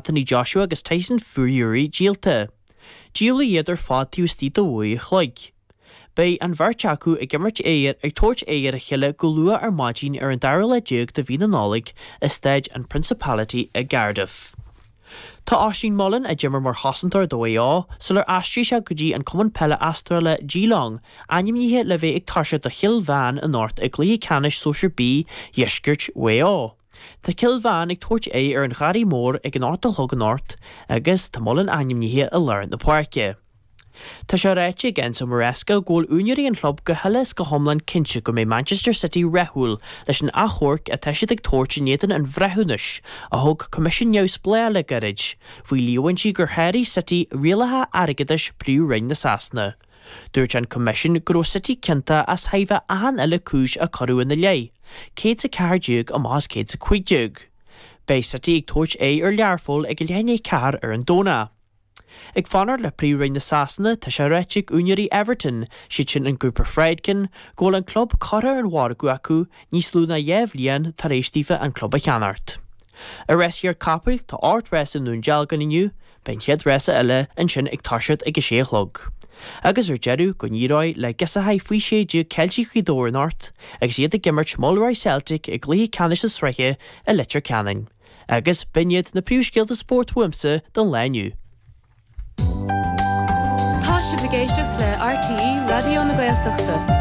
Anthony Joshua agus Tyson Fury díolta. Díoladh iad ar fad taobh istigh de uair a chloig. Beidh an bheirt acu ag imirt aghaidh ag tabhairt aghaidh ar a chéile go luath ar maidin ar an dara lá déag de mhí na Nollag i Staid an Principality i gCardiff. Tá Oisín Mullin, a d'imir mar chosantóir do Mhaigh Eo sular aistrigh sé go dtí an cumann peile Astráile Geelong, ainmnithe le bheith ag toiseacht do Chill Mheáin anocht i gcluiche ceannais Sóisir B Dheisceart Mhaigh Eo. Tá Cill Mheáin ag tabhairt aghaidh ar an Gharraí Mór ag an 8 a chlog anocht agus tá Mullin ainmnithe i lár na páirce. Tá sé ráite ag Enzo Maresca go bhfuil úinéirí an chlub go huile is go hiomlán cinnte go mbeidh Manchester City rathúil leis an achomharc atá siad ag tabhairt in éadan an bhreithiúnais a thug coimisiún neamhspleách le gairid faoi líomhaintí gur sháraigh City rialacha airgeadais Phríomh-Roinn na Sasana. Dúirt an coimisiún go raibh City ciontach as thairbhe achan uile cúis a cuireadh ina leith, 114 amach as 115. Beidh City ag tabhairt aghaidh ar Learpholl ag a leath i ndiaidh 4 ar an Domhnach. Ag fanacht le Príomh-Roinn na Sasana, tá sé ráite ag úinéirí Everton, siad sin an grúpa Friedkin, go bhfuil an club curtha ar an mhargadh acu níos lú ná 2 bhliain tar éis daofa an club a cheannacht. I rásaíocht capaill, tá 8 rás i nDún Dealgan inniu, beidh an chéad rása eile ansin ag toiseacht ag a sé a chlog. Agus ar deireadh, go n-éireoidh le girseachaí faoi 16 Ceiltigh Ghaoth Dobhair anocht agus iad ag imirt Mulroy Celtic i gcluiche ceannais na sraithe i Leitir Ceanainn. Agus b'in iad na príomhscéalta spóirt uaimse don lá inniu. Tá sibh ag éisteacht le RTÉ Raidió na Gaeltachta.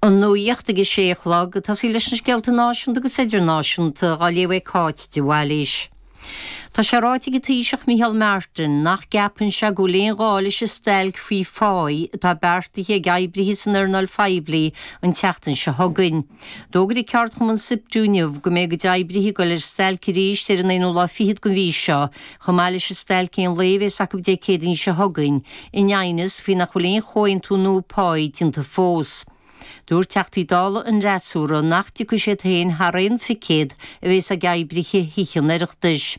An nuacht ag a sé a chlog, ag tosaí leis na scéalta náisiúnta agus idirnáisiúnta, á léamh ag Cáit de Bhailís. Tá sé ráite ag an Taoiseach Micheál Martin nach gceapann sé go bhfuil aon ghá leis an stailc faoi pháí atá beartaithe ag oibrithe san earnáil phoiblí an tseachtain seo chugainn. D'fhógair an ceardchumann Siptu inniu go mbeidh a gcuid oibrithe ag dul ar stailc arís ar an aonú lá fichead den mhí seo, chomh maith leis an stailc aon lae a bhéas acu Dé Céadaoin seo chugainn, in aighneas faoi nach bhfuil aon chomhaontú nua páí déanta fós. Dúirt Teachtaí Dála an fhreasúra nach dtiocfaidh siad féin thar aon phicéad a bhéas ag oibrithe Thithe an Oireachtais.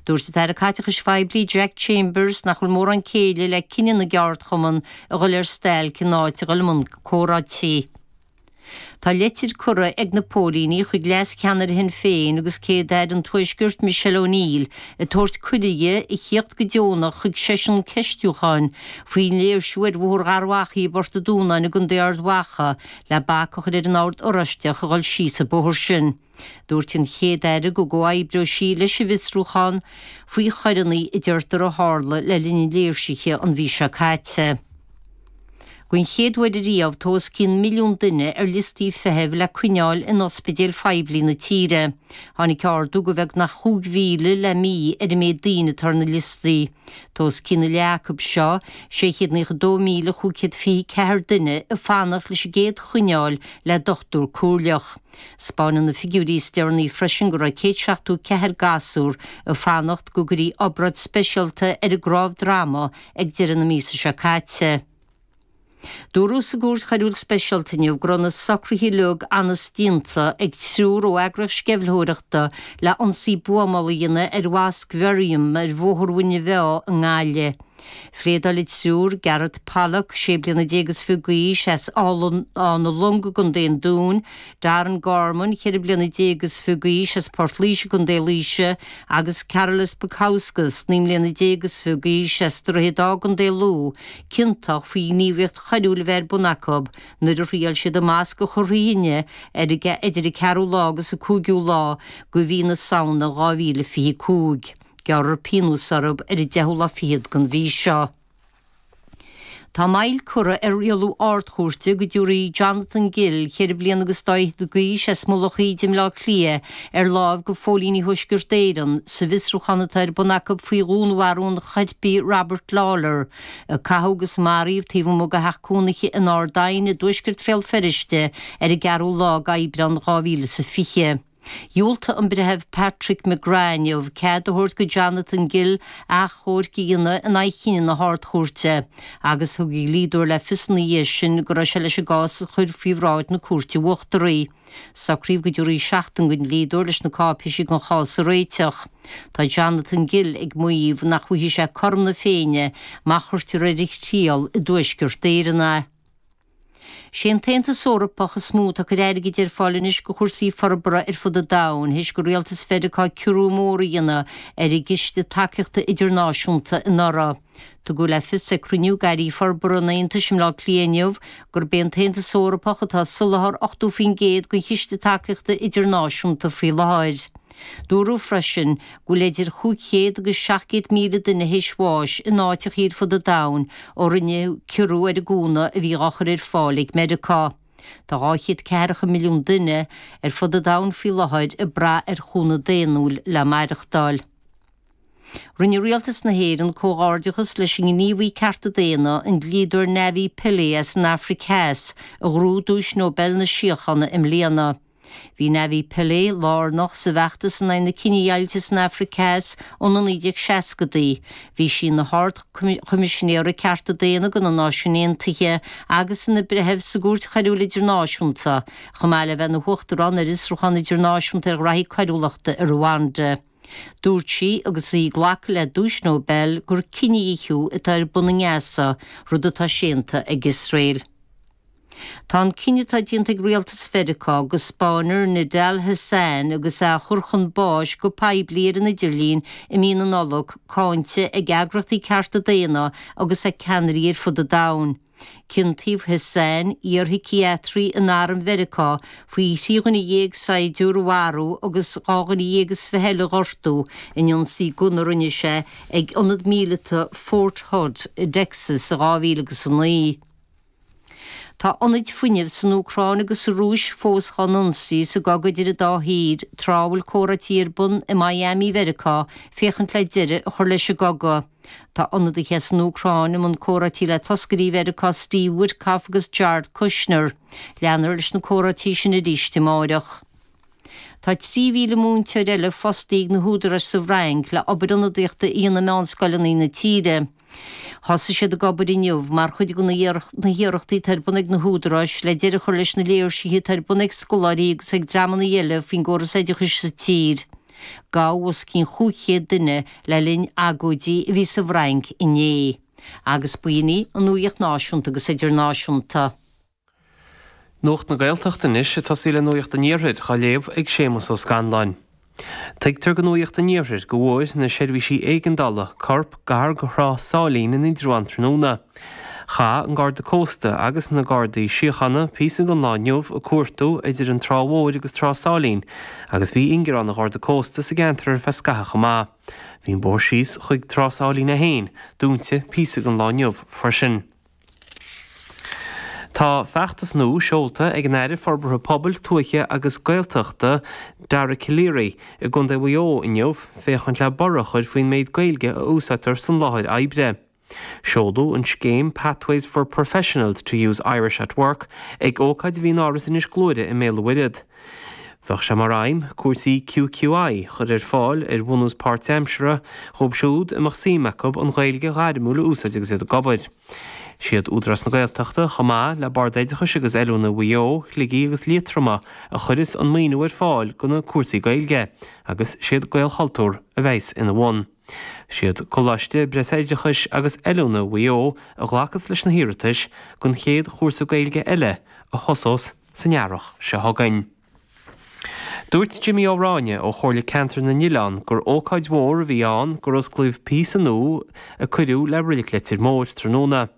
Dúirt an tAire Caiteachais Phoiblí Jack Chambers nach bhfuil mórán céille le cinneadh na gceardchumann a dhul ar stailc in áit a dhul i mbun comhráití. Tá leitir curtha ag na póilíní chuig leas-cheannaire Shinn Féin agus Céad-Aire an Tuaiscirt Michelle O'Neill ag tabhairt cuireadh di a thíocht go deonach chuig seisiún ceistiúcháin faoin léirsiú ar Bhóthar Gharbhachaidh i bPort an Dúnáin i gContae Ard Mhacha le bac a chur ar an Ord Oráisteach a dhul síos an bóthar sin. Dúirt an Chéad-Aire go gcomhoibreoidh sí leis an bhfiosrúchán faoi choireanna a deirtear a tharla le linn an léirsithe an mhí seo caite. Den chéad uair ariamh tá os cionn milliún duine ar liostaí feithimh le coinneáil in ospidéil phoiblí na tíre. Tháinig ardú de bheagnach 5,000 le mí ar an méid daoine atá ar na liostaí. Tá os cionn a leath acu seo, 692,524 duine, ag fanacht leis an gcéad choinneáil le dochtúir comhairleach. 'Spáineann na figiúirí is deireanaí freisin go raibh 174 gasúr ag fanacht go gcuirfí obráid speisialta ar a gcnámh droma ag deireadh na míosa seo caite. Dúradh sa gCúirt Choiriúil Speisialta inniu go raibh na socruithe uilig an-déanta ag triúr ó eagraíocht sceimhlitheoireachta le ionsaí buamála a dhéanamh ar Mhosc Mherriam ar Bhóthar Mhuine Mheá i nGaillimh. Phléadáil an triúr, Gareth Pollock, sé bliana déag is fiche d'aois, as Áth na Long i gContae an Dúin, Darren Gorman, cheithre bliana déag is fiche d'aois, as Port Laoise i gContae Laoise, agus Karolis Bukauskas, 19 mbliana is fiche d'aois, as Droichead Átha i gContae Lú, ciontach faoi ghníomhaíocht choiriúil a bheith ar bun acu nuair a thriail siad an masc a chur thrí thine ar idir an ceathrú lá agus an cúigiú lá de mhí na Samhna 2025. Gearrfar pionós orthu ar an deichiú lá fichead den mhí seo. Tá moill curtha ar rialú Ard-Chúirte go dtabharfaí Jonathan Gill, cheithre bliana agus dá fhichead d'aois, as Mullach Íde i mBleá Cliath, ar láimh go phóilíní Thuaisceart Éireann sa bhfiosrúchán atá ar bun acu faoi dhúnmharú an choirpigh Robert Lawlor, a caitheadh agus maraíodh taobh amuigh de theach cónaithe in Ard Aidhne i dtuaisceart Bhéal Feirste ar an gceathrú lá d'Aibreán 2020. Dhiúltaigh an Breitheamh Patrick McGrath inniu cead a thabhairt go Jonathan Gill achomharc a dhéanamh in aghaidh chinneadh na hArd-Chúirte agus thug a dhlíodóir le fios ina dhiaidh sin go raibh sé leis an gcás a chur faoi bhráid na Cúirte Uachtaraí. Socraíodh go dtabharfaí seachtain don dlíodóir leis na cáipéisí don chás a réiteach. Tá Jonathan Gill ag maíomh nach bhfaighidh sé cothrom na Féinne má chuirtear ar a thriail i dTuaisceart Éireann é. Sé an tAontas Eorpach is mó atá ag cur airgid ar fáil anois go chúrsaí forbartha ar fud an domhain théis go Rialtas Mheiriceá ciorrú mór a dhéanamh ar an gCiste Tacaíochta Idirnáisiúnta anuraidh. Tugadh le fios ag cruinniú d'airí forbartha an Aontais i mBleá Cliath inniu gurb é an tAontas Eorpach atá ag soláthar 80% den Chiste Tacaíochta Idirnáisiúnta faoi láthair. Dúradh freisin go bhfuil idir 500 agus 700,000 duine théis bháis in áiteachaí ar fud an domhain ó rinneadh ciorrú ar an gcúnamh a bhí dhá chur ar fáil ag Meiriceá. Tá 200 ceathracha milliún duine ar fud an domhain faoi láthair ag brath ar chúnamh daonnúil le maireachtáil. Rinne Rialtas na hÉireann comhghairdeachas leis an ngníomhaí cearta daonna, an dlíodóir Navi Pillay as an Afraic Theas, a ghnóthaigh Duais Nobel na Síochána i mbliana. Bhí Navi Pillay lárnach sa bhfeachtas in aghaidh na cinedheighilte san Afraic Theas ó na 1960idí. Bhí sí ina hArd-Choimisinéara Cearta Daonna do na Náisiúin Aontaithe agus ina breitheamh sa gCúirt Choiriúil Idirnáisiúnta, chomh maith le bheith ina huachtarán ar Fhiosrúchán Idirnáisiúnta ar ghraithí coiriúlachta i Rwanda. Dúirt sí, agus í ag glacadh le Duais Nobel, gur cinedhíothú atá ar bun i nGaza, rud atá séanta ag Iosrael. Tá an cinneadh atá déanta ag rialtas Mheiriceá go spáinfear Nidal Hasan agus é á chur chun báis go poiblí ar an idirlíon i mí na Nollag cáinte ag eagraíochtaí cearta daonna agus ag ceannairí ar fud an domhain. Ciontaíodh Hasan, iarshíciatraí in arm Mheiriceá, faoi thrí dhuine dhéag saighdiúir a mharú agus 22 dhuine eile a ghortú in ionsaí gunna a rinne sé ag ionad míleata Fort Hood i dTexas i 2009. Tá ionaid fuinnimh san Úcráin agus sa Rúis fós dhá n-ionsaí sa gcogadh idir an dá thír, tráth a bhfuil comhráití ar bun i Miami Mheiriceá féachaint le deireadh a chur leis an gcogadh. Tá ionadaithe as an Úcráin i mbun comhráití le toscairí Mheiriceá Steve Witkoff agus Jared Kushner. Leanfar leis na comhráití sin arís amáireach. Tá 3,000 múinteoir eile fostaithe ag na húdaráis sa bhFrainc le obair ionadaíochta a dhéanamh i meánscoileanna na tíre. Thosaigh siad ag obair inniu mar chuid de na hiarrachtaí atá ar bun ag na húdaráis le deireadh a chur leis na léirsithe atá ar bun ag scoláirí agus ag dreamanna eile faoin gcóras oideachais sa tír. Gabhadh os cionn 500 duine le linn agóidí a bhí sa bhFrainc inné. Agus b'in í an nuacht náisiúnta agus idirnáisiúnta. Nuacht na Gaeltachta anois, ag tosaí le Nuacht an Iarthair, á léamh ag Séamus Ó Scanláin. Tuigtear do Nuacht an Iarthair go bhfuair na seirbhísí éigeandála corp gar go Thrá Sáilín in Indreabhán tráthnóna. Chaith an Garda Cósta agus na Gardaí Síochána píosa den lá inniu ag cuartú idir an Trá Mhóir agus Trá Sáilín agus bhí ingearán an Gharda Cósta sa gceantar ar feadh scaitheamh chomh maith. Bhí an bóthar síos chuig Trá Sáilín é féin dúnta píosa den lá inniu freisin. Tá feachtas nua seolta ag an Aire Forbartha Pobail, Tuaithe agus Gaeltachta, Dara Calleary, i gContae Mhaigh Eo inniu féachaint le borradh a chur faoin méid Gaeilge a úsáidtear san láthair oibre. Seoladh an scéim Pathways for Professionals to Use Irish at Work ag ócáid a bhí in Áras Inis Gluaire i mBéal an Mhuirthead. Bheadh sé mar aidhm cúrsaí QQI a chur ar fáil ar bhunús páirtaimseartha dhóibh siúd a mbeadh suim acu an Ghaeilge ghairmiúil a úsáid agus iad ag obair. Siad Údarás na Gaeltachta, chomh maith le Bord Oideachais agus Oiliúna Mhaigh Eo, Shligigh agus Liatroma a chuireas an maoiniú ar fáil do na cúrsaí Gaeilge agus siad Gaelchultúr a bheas ina bhun. Siad Coláiste Breisoideachais agus Oiliúna Mhaigh Eo a ghlacas leis na hiarratais don chéad chúrsa Gaeilge eile a thosós san earrach seo chugainn. Dúirt Jimmy Ó Ráinne ó Chomhairle Ceantair na nOileán gur ócáid mhór a bhí ann gur osclaíodh píosa nua a cuireadh le Reilig Leitir Móir tráthnóna.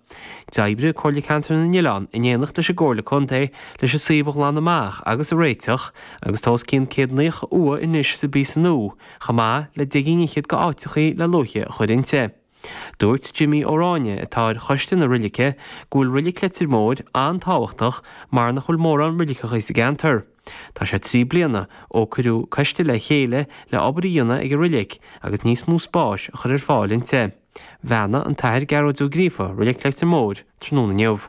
D'oibrigh Comhairle Ceantair na nOileán in éineacht leis an gComhairle Contae leis an suíomh a ghlanadh amach agus a réiteach agus tá os cionn 190 uaigh anois sa bpíosa nua chomh maith le deich gcinn fhichead de áiteachaí le luaithe a chur inti. Dúirt Jimmy Ó Ráinne, atá ar choiste na roilice, go bhfuil Roilic Leitir Móir an-tábhachtach mar nach bhfuil mórán roiliceachaí sa gceantar. Tá sé 3 bliana ó cuireadh coiste le chéile le obair a dhéanamh ag an roilic agus níos mó spáis a chur ar fáil inti. Bheannaigh an tAthair Gearóid Ó Gríofa Roilic Leitir Móir tráthnóna inniu.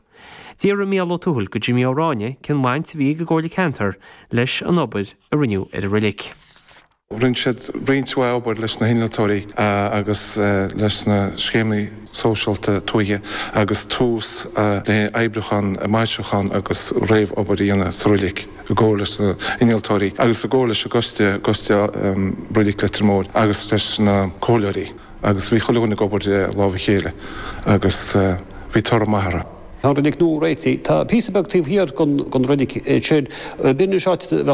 D'fhiafraigh Mícheál Ó Tuathail go Jimmy Ó Ráinne cén bhaint a bhí ag an gComhairle Ceantair leis an obair a rinneadh ar an roilic. Rinne siad roinnt mhaith obair leis na hinnealtóirí agus leis na scéimeanna sóisialta tuaithe agus tús le oibriúchán, maisiúchán agus réamh-obair a dhéanamh sa roilig i gcomhar leis na hinnealtóirí agus i gcomhar leis an gcoiste, Coiste Roilig Leitir Móir agus leis na comhairleoirí agus bhí chuile dhuine ag obair le lámh a chéile agus bhí toradh maith orthu. Tá an reilig nua réitithe. Tá píosa beag taobh thiar den reilig sin. B'in an áit a bheadh.